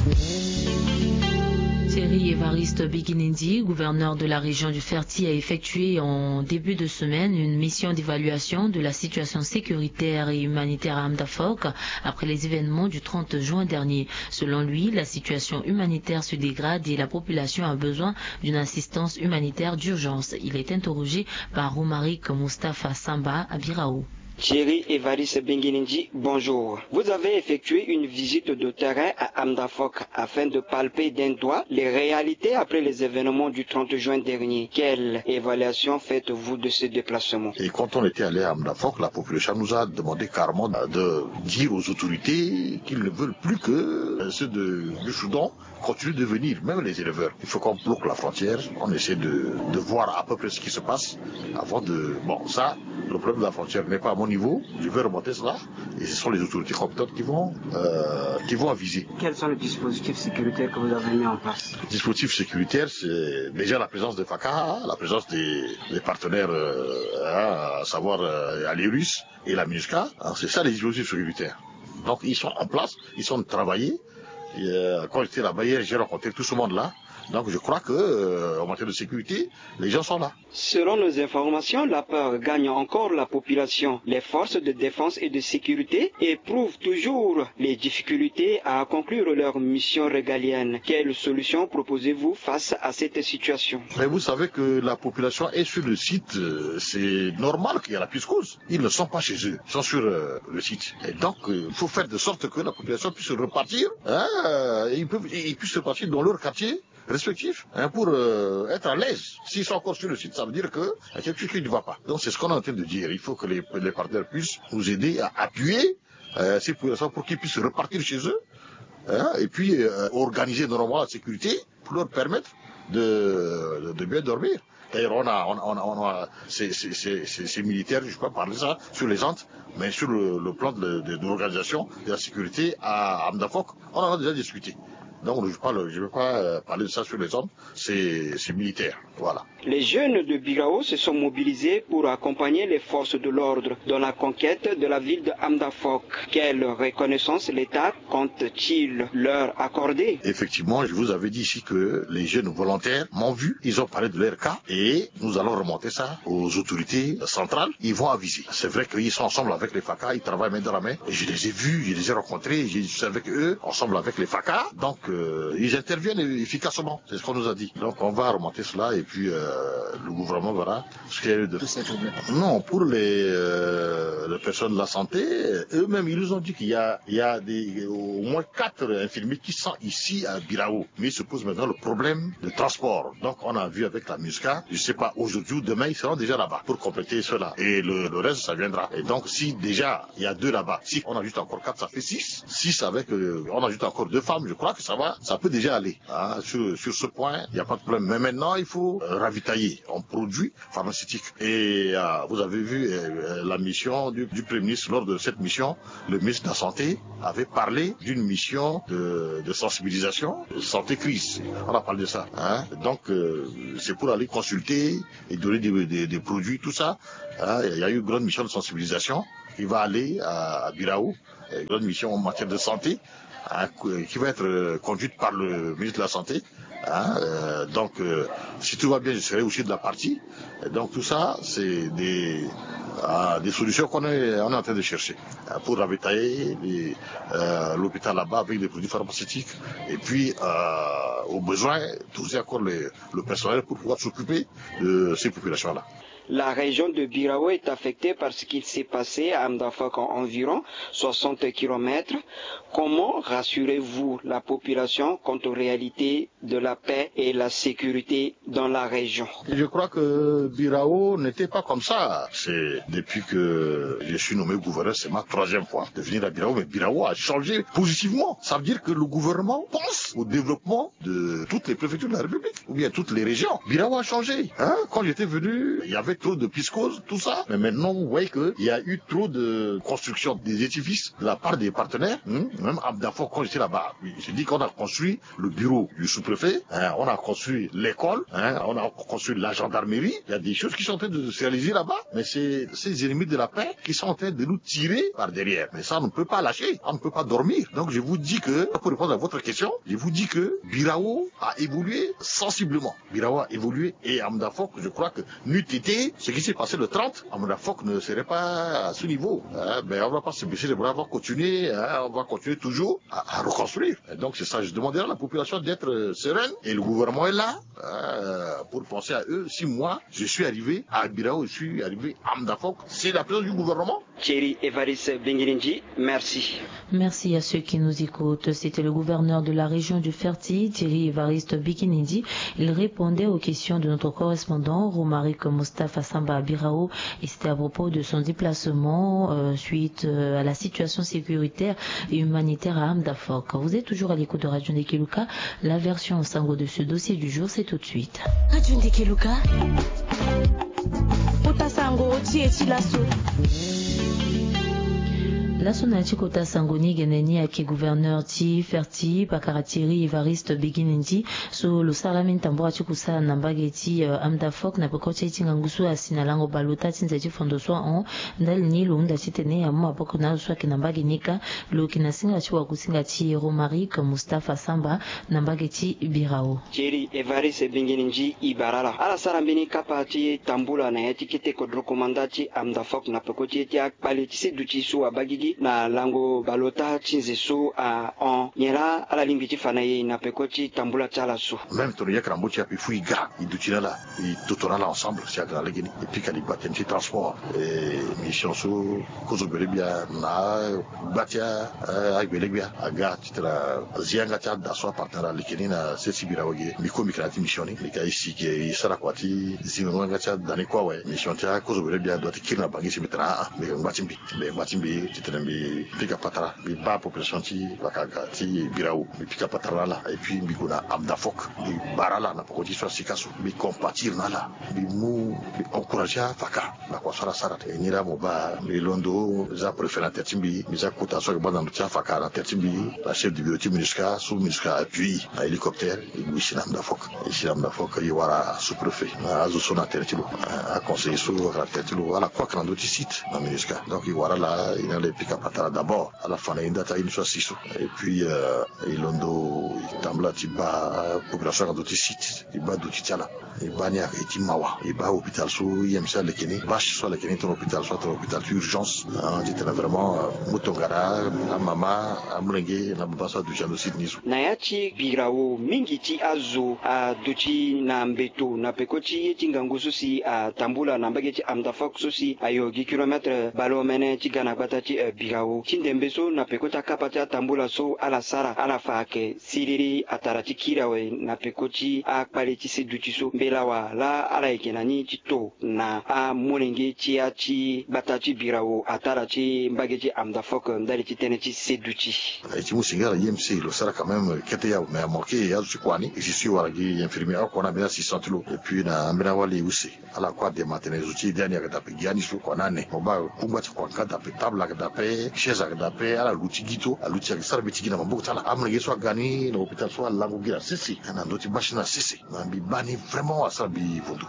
Thierry Évariste Biginendi, gouverneur de la région du Ferti, a effectué en début de semaine une mission d'évaluation de la situation sécuritaire et humanitaire à Hamdafok après les événements du trente juin dernier. Selon lui, la situation humanitaire se dégrade et la population a besoin d'une assistance humanitaire d'urgence. Il est interrogé par Romaric Mustapha Samba à Birao. Thierry Évariste Benguinindi, bonjour. Vous avez effectué une visite de terrain à Hamdafok afin de palper d'un doigt les réalités après les événements du trente juin dernier. Quelle évaluation faites-vous de ce déplacement ? Et quand on était allé à Hamdafok, la population nous a demandé carrément de dire aux autorités qu'ils ne veulent plus que ceux de, du Soudan continuent de venir, même les éleveurs. Il faut qu'on bloque la frontière, on essaie de, de voir à peu près ce qui se passe avant de... Bon, ça, le problème de la frontière n'est pas à mon niveau, je vais remonter cela, et ce sont les autorités compétentes qui vont, euh, qui vont aviser. Quels sont les dispositifs sécuritaires que vous avez mis en place ? Le dispositif sécuritaire, c'est déjà la présence de FACA, la présence des, des partenaires, euh, hein, à savoir, euh, les Russes et la MINUSCA, hein, c'est ça les dispositifs sécuritaires. Donc ils sont en place, ils sont travaillés. Et, euh, quand j'étais là-bas hier, j'ai rencontré tout ce monde-là. Donc je crois que, euh, en matière de sécurité, les gens sont là. Selon nos informations, la peur gagne encore la population. Les forces de défense et de sécurité éprouvent toujours les difficultés à conclure leur mission régalienne. Quelle solution proposez-vous face à cette situation ? Mais vous savez que la population est sur le site, euh, c'est normal qu'il y a la piscose. Ils ne sont pas chez eux, ils sont sur, euh, le site. Et donc, euh, il faut faire de sorte que la population puisse repartir, hein, euh, et ils peuvent, et ils puissent repartir dans leur quartier respectif, hein, pour, euh, être à l'aise. S'ils sont encore sur le site, ça veut dire que y a quelque chose qui ne va pas. Donc c'est ce qu'on est en train de dire. Il faut que les, les partenaires puissent nous aider à appuyer, euh, ces populations pour qu'ils puissent repartir chez eux, hein, et puis, euh, organiser normalement la sécurité pour leur permettre de, de, de bien dormir. D'ailleurs, on a, on a, on a, on a ces, ces, ces, ces, ces militaires, je peux parler ça, sur les Andes, mais sur le, le plan de, de, de l'organisation de la sécurité à Hamdafok, on en a déjà discuté. Donc, je ne vais pas, le- je vais pas, euh, parler de ça sur les Andes, c'est c'est militaire. Voilà. Les jeunes de Birao se sont mobilisés pour accompagner les forces de l'ordre dans la conquête de la ville de Hamdafok. Quelle reconnaissance l'État compte-t-il leur accorder ? Effectivement, je vous avais dit ici que les jeunes volontaires m'ont vu, ils ont parlé de leur cas et nous allons remonter ça aux autorités centrales. Ils vont aviser. C'est vrai qu'ils sont ensemble avec les FACA, ils travaillent main dans la main. Je les ai vus, je les ai rencontrés, je suis avec eux, ensemble avec les FACA. Donc, euh, ils interviennent efficacement. C'est ce qu'on nous a dit. Donc on va remonter cela et puis euh, le gouvernement verra ce qu'il y a eu de... Non, pour les, euh, les personnes de la santé, eux-mêmes, ils nous ont dit qu'il y a, il y a des, au moins quatre infirmiers qui sont ici à Birao. Mais il se pose maintenant le problème de transport. Donc on a vu avec la MISCA, je ne sais pas, aujourd'hui ou demain, ils seront déjà là-bas pour compléter cela. Et le, le reste, ça viendra. Et donc si déjà il y a deux là-bas, si on ajoute encore quatre, ça fait six. Six avec, euh, on ajoute encore deux femmes, je crois que ça va, ça peut déjà aller. Hein, sur, sur ce point, il n'y a pas de problème. Mais maintenant, il faut euh, ravitailler en produits pharmaceutiques. Et euh, vous avez vu euh, la mission du, du Premier ministre. Lors de cette mission, le ministre de la Santé avait parlé d'une mission de, de sensibilisation, de santé crise. On a parlé de ça. Hein. Donc, euh, c'est pour aller consulter et donner des, des, des produits, tout ça. Hein. Il y a eu une grande mission de sensibilisation qui va aller à, à Birao, une grande mission en matière de santé, hein, qui va être euh, conduite par le ministre de la Santé. Hein, euh, donc, euh, si tout va bien, je serai aussi de la partie. Et donc, tout ça, c'est des, euh, des solutions qu'on est, on est en train de chercher euh, pour ravitailler les, euh, l'hôpital là-bas avec des produits pharmaceutiques. Et puis, euh, au besoin, doser encore les, le personnel pour pouvoir s'occuper de ces populations-là. La région de Birao est affectée par ce qui s'est passé à Amdafok, environ soixante kilomètres. Comment rassurez-vous la population quant aux réalités de la paix et la sécurité dans la région ? Je crois que Birao n'était pas comme ça. C'est depuis que je suis nommé gouverneur, c'est ma troisième fois de venir à Birao, mais Birao a changé positivement. Ça veut dire que le gouvernement pense au développement de toutes les préfectures de la République, ou bien toutes les régions. Birao a changé. Hein ? Quand j'étais venu, il y avait trop de piscose, tout ça. Mais maintenant, vous voyez qu'il y a eu trop de construction des édifices de la part des partenaires. Hein ? Même Amdafok, quand j'étais là-bas, oui, j'ai dit qu'on a construit le bureau du sous-préfet, hein, on a construit l'école, hein, on a construit la gendarmerie. Il y a des choses qui sont en train de se réaliser là-bas. Mais c'est ces ennemis de la paix qui sont en train de nous tirer par derrière. Mais ça, on ne peut pas lâcher. On ne peut pas dormir. Donc, je vous dis que, pour répondre à votre question, je vous dis que Birao a évolué sensiblement. Birao a évolué et Amdafok, je crois que n'eût été ce qui s'est passé le trente, Amdafok ne serait pas à ce niveau. Hein, mais on ne va pas se baisser les bras, on va continuer, hein, on va continuer toujours à, à reconstruire. Et donc c'est ça, je demande à la population d'être euh, sereine et le gouvernement est là hein, pour penser à eux. Si moi, je suis arrivé à Birao, je suis arrivé à Amdafok, c'est la présence du gouvernement. Thierry Évariste Bingirinji, merci. Merci à ceux qui nous écoutent. C'était le gouverneur de la région du Ferti, Thierry Évariste Bikinindi. Il répondait aux questions de notre correspondant, Romaric Mustapha Samba Birao, et c'était à propos de son déplacement euh, suite euh, à la situation sécuritaire et humanitaire à Amdafok. Vous êtes toujours à l'écoute de Radio Ndekeluka. La version sango de ce dossier du jour, c'est tout de suite. Radio Ndekeluka. Kota sango ti e ti laso. Laso na ya ti kota sango ni gene ni ayeke gouverneur ti Ferti, pakara Thierry Évariste Biginindi, so lo sara laa mbeni tambula ti kusala na mbage ti euh, Amdafok na peko ti aye ti ngangu so asi na lango baleota ti nze ti fondo so ahon. Ndali ni lo hunda titene amu maboko na azo so ayeke na mbage ni kâ. Lo yeke na singa ti wakusinga ti Romaric Mustapha Samba na mbage ti Birao. Thierry Évariste Biginindi, e bara ala. Ala sara mbeni kapa ti tambula na ya ti kete kodro komanda ti Amdafok na peko ti ye ti akpale ti se duti so abaa gigi na lango baleota ti nze so ahon. Nyen laa ala lingbi ti fa na e na peko ti tambula ti ala so? Même tongana e yeke na mbo ti e ape, il faut e ga, e duti na ala, e toto na ala ensemble si aga na legeni. E pika ligba tënë ti transport. E mission so kozo gbele-gbia na gba ti agbele-gbia aga titene azi yanga ti ada so apartenir aleke ni na sese ti Birao ge. Mbi ko mbi yeke na ya ti mission ni, mbi yeke na e si ge e sara kua ti zingo yanga ti ada ni kue awe. Mission ti akozo gbele-gbia adoit ti kiri na Bangui si mbi tene aa, mbi yeke ngba ti mbi. Mbi yeke ngba ti mbi titene mbi pika patara, mbi baa population ti Vakaga ti Birao, mbi pika patara na ala. Et puis mbi gue na Amdafok, mbi bara ala na poko ti so asika so, mbi compatir na ala, mbi mu, mbi encourager afaka na kua so ala sara. E ni laa mo baa mbi londo, mbi za préfet na tere ti mbi, mbi za kota so ayeke baa na ndo ti afaka na tere ti mbi, na chef de bureau ti MINUSCA so MINUSCA appuie na hélicoptère. E gue e si na Amdafok, e si na Amdafok e wara sous-préfet na azo so na tere ti lo, aconseiller so ayeke na tere ti lo, ala kue ayeke na ndö ti site na MINUSCA. Donc e wara ala, e na ala e pika Atara d'abord ala fa na ye nda ti aye ni so asi so. Et puis e londo e tambula ti baa population ayeke na ndö ti site, e baa duti ti ala. E baa ni ayeke ye ti mawa. E baa hôpital so I M C aleke ni, bâche so aleke ni tongana hôpital so atongana hôpital ti urgence. Titene vraiment mu tongana amama, amolenge na baba so aduti na ndö ti site ni so. Na ya ti birao mingi ti azo aduti na mbeto na peko ti ye ti ngangu so si atambula na mbage ti Amdafok so si ayo gi kilomètre baleomene ti ga na gbata ti birao ti ndembe so na peko ti akapa ti atambula so ala sara ala fa ayeke siriri atara ti kiri awe na peko ti akpale ti seduti so mbela wa laa ala yeke na ni ti to na amolenge ti ya ti gbata ti birao atara ti mbage ti Amdafok ndali ti tënë ti seduti. E ti mu singila na I M C lo sara quand même kete yawe mais amanke azo ti kua ni e si so e wara gi infirmier oko na ambeni assistant ti lo et puis na ambeni awali use. Ala kue adema atene zo ti e de ani ayeke daa ape gi ani so kua na ane mo baa kungba ti kua nga daa ape table ayeke daa ape chaise ayeke daa ape ala luti gi to aluti ayeke sara mbi ti gi na maboko ti ala amolenge so aga ni na hôpital so alango gi na sese na ndö ti bâche ni na sese. Na mbi baa ni vraiment asara mbi vundu.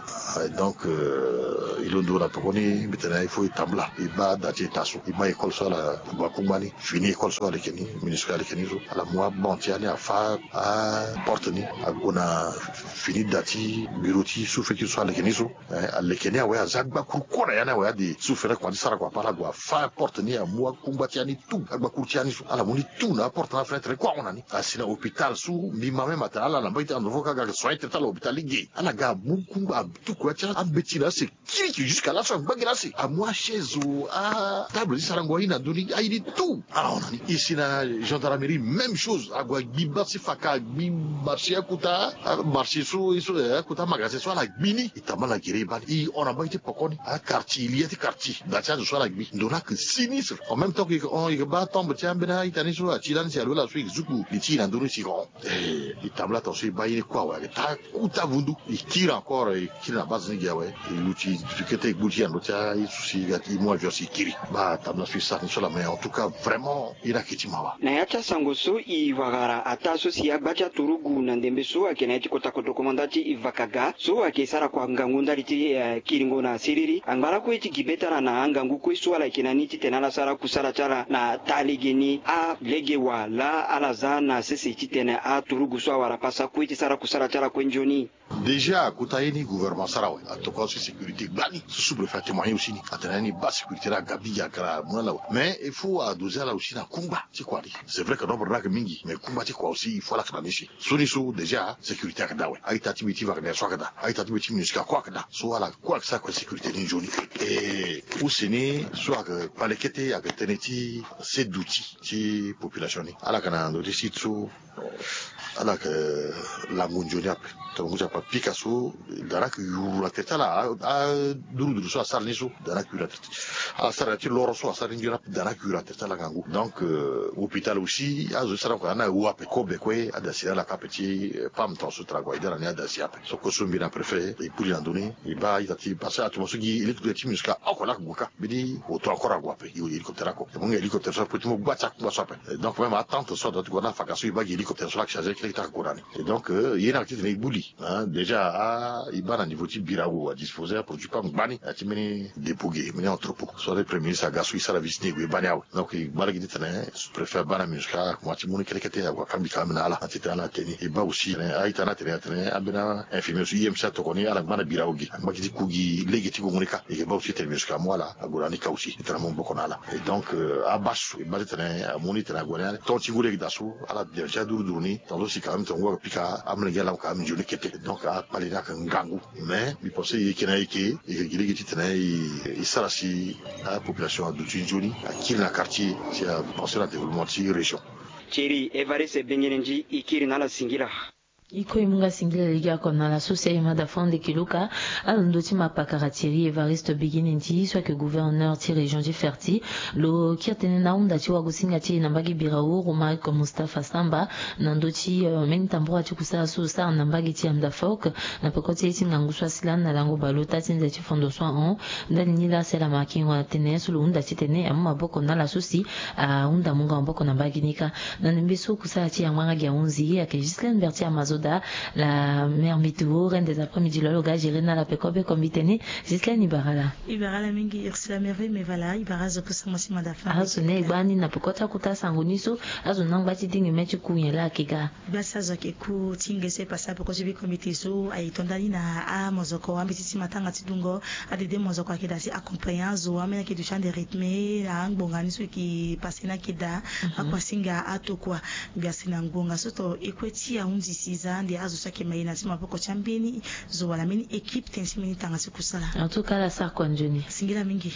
Donc e londo na pekoni mbi tene il faut e tambula e baa da ti eta so e baa école so ala kungba kungba ni fini école so aleke ni minuscule aleke ni so ala mu abon ti ani afa aporte ni ague na fini da ti bureau ti sous-préfecture so aleke ni so. Aleke ni awe aza agbakuru kue na ya ni awe ade sous-préfecture akoma ti sara kua ape ala gue afa porte ni amu akungba ti ya ni tout agbakuru ti ya ni so ala mu ni tout na aporte na afenêtre ni kue ahon na ni asi na hôpital so mbi ma même atene ala na mbage ti Amdafok aga soin traité ala hôpital lege ala ga amu kungba atuku ya ti ambeti na ase kiri ki jusqu'à laso angba gi na ase amu achaise o atable ti sarango aye na ndö ni aye ni tout. Ala hon na ni e si na gendarmerie même chose ague agbi bâche ti faka agbi marché akota marché so ye so akota magasin so ala gbi ni e tambala gere e baa ni e hon na mbage ti poko ni. Quartier e li ya ti quartier da ti azo so ala gbi ndo ni ayeke sinistre en même temps que e yeke hon e yeke baa tombe ti ambeni a-ita ni so ati lani si alo ala so e yeke zuku li ti e na ndö ni si e yeke hon. E tambula tongaso e baa ye ni kue awe ayeke taa kuta vundu e kiri encore e kiri na base ni gi awe e luti kete e gbu ti e na ndö ti aye so si e ga ti e mu avion si e kiri. Baa tambula so e sara ni so laa mais en tout cas vraiment ye ni ayeke ti mawa. Na ya ti asango so e wara ataa so si agba ti aturugu na ndembe so ayeke na ya ti kota kodro komanda ti vakaga so ayeke sara kua ngangu ndali ti kiringo na siriri angba lakue ti gi be ti ala na angangu kue so ala yeke na ni titene ala sara kusala ti ala na taa lege ni alege wa laa ala za na sese titene aturugu so awara pasa kue ti sara kusala ti ala kue nzoni. Déjà kota ye ni gouvernement asara awe atokua so sécurité gbani so sous-préfet atémoigné aussi ni atene ni baa sécurité ni aga mingi aga na mu na ala awe mais il faut adoser ala aussi na kungba ti kua ni. C'est vrai que nombre ni ayeke mingi mais kungba ti kua aussi il faut ala yeke na ni si. So ni so déjà sécurité ayeke daa awe a-ita ti mbi ti wagner so ayeke daa a-ita ti mbi ti minusca kue ayeke daa so ala kue ayeke sara kue sécurité ni nzoni. E use ni so ayeke kpale kete ayeke tënë ti seduti ti population ni ala yeke na ndö ti site so ala yeke lango nzoni ape. Tongana ngu ti akpa pika so da ni ayeke yuru na tere ti ala aduruduru so asara ni so da ni ayeke yuru na tere ti ala sara na ya ti loro so asara ni nzoni ape da ni ayeke yuru na tere ti ala ngangu. Donc hôpital aussi azo ti sara ni kua ani awu ape kobe kue adasi na ala ka ape ti pam tongaso tara gue aida na ni adasi ape. So kue so mbi na préfet e kpuli na ndö ni e baa a-ita ti parce que atuma so gi hélicoptère ti minusca oko laa ayeke gue ka mbeni auto encore ague ape e hélicoptère oko e mu nga hélicoptère so ape ti mu gba ti akungba so ape. Donc même atente so adua ti gue na afaka so e baa gi hélicoptère so laa ayeke chargé kete kete ayeke gue na ni. Et donc ye ni ayeke titene e gbu li. Déjà a e baa na niveau ti birao adisposer aproduit pas ngbani na ya ti mbeni dépôt ge mbeni entrepôt so ade premier ministre aga so e sara visite ni e gue e baa ni awe. Donc e gba lege titene sous-préfet abaa na minusca akoma ti mu ni kete kete ague akambika ame na ala na titene ala te ni e baa aussi titene a-ita ni atene atene ambeni infirmier so I M C atokoni ala ngba na birao ge angba gi ti ku gi lege ti gongo ni kâ e yeke baa aussi titene minusca amu ala ague na ni kâ aussi titene amu maboko na ala. Et donc abâche so e baa titene amu ni titene ague na ni tongo ti ngu lege daa so ala bien ti aduruduru ni tongaso si quand même tonga ngu ayeke pika amolenge ala mu quand même nzoni kete. Donc akpale ni ayeke ngangu. Mais mbi pense e yeke na yeke e yeke gi lege titene e sara si apopulation aduti nzoni akiri na quartier si apenser na développement ti région. Thierry Evariste Bengenendi e kiri na ala singila. E kue e mu nga singila lege oko na ala so si aye ma da fo ande kiluka. Alondo ti mapakara Thierry Evariste Bengenendi so ayeke gouverneur ti région ti Ferti lo kiri tënë na ahunda ti wagosinga ti e na mbage birao Romaric Mustapha Samba na ndö ti mbeni tambura ti kusala so lo sara na mbage ti Amdafok na peko ti ye ti ngangu so asi lani na lango bale ota ti nze ti fondo so ahon. Ndali ni laa si ala ma kingo na tene so lo hunda titene amu maboko na ala so si ahunda mungo maboko na mbage ni kâ. Na ndembe so kusala ti e angba nga gi ahunzi ayeke Ghislaine Berthier Amazo. Soda, la mère Mituo, reine des après-midi, lolo ga gérer na la peko be kombi teni. Zislène, i bara ala. I bara ala mingi, Ursula Merveille Mevala, i bara azo kusa mosi madafa. Azo ne gbani na peko ti akuta sango ni so, azo na ngba ti dingi me ti ku nyen la ake ga. Gbasi azo ake ku ti nge so e pasa peko ti bi kombi te so aye to ndani na amozoko ambeti ti matanga ti dungo. Adede mozoko ake da ti accompagner azo ameni ake du ti ande rythme na angbonga ni so e ke pase na ake da. Akuasinga atokua. Gbia si na ngbonga so to e kue ti ahunzi si za ande azo so ayeke ma ye na ti maboko ti ambeni zo wala mbeni équipe tënë ti mbeni tanga ti kusala. En tout cas la sara kua nzoni. Singila mingi.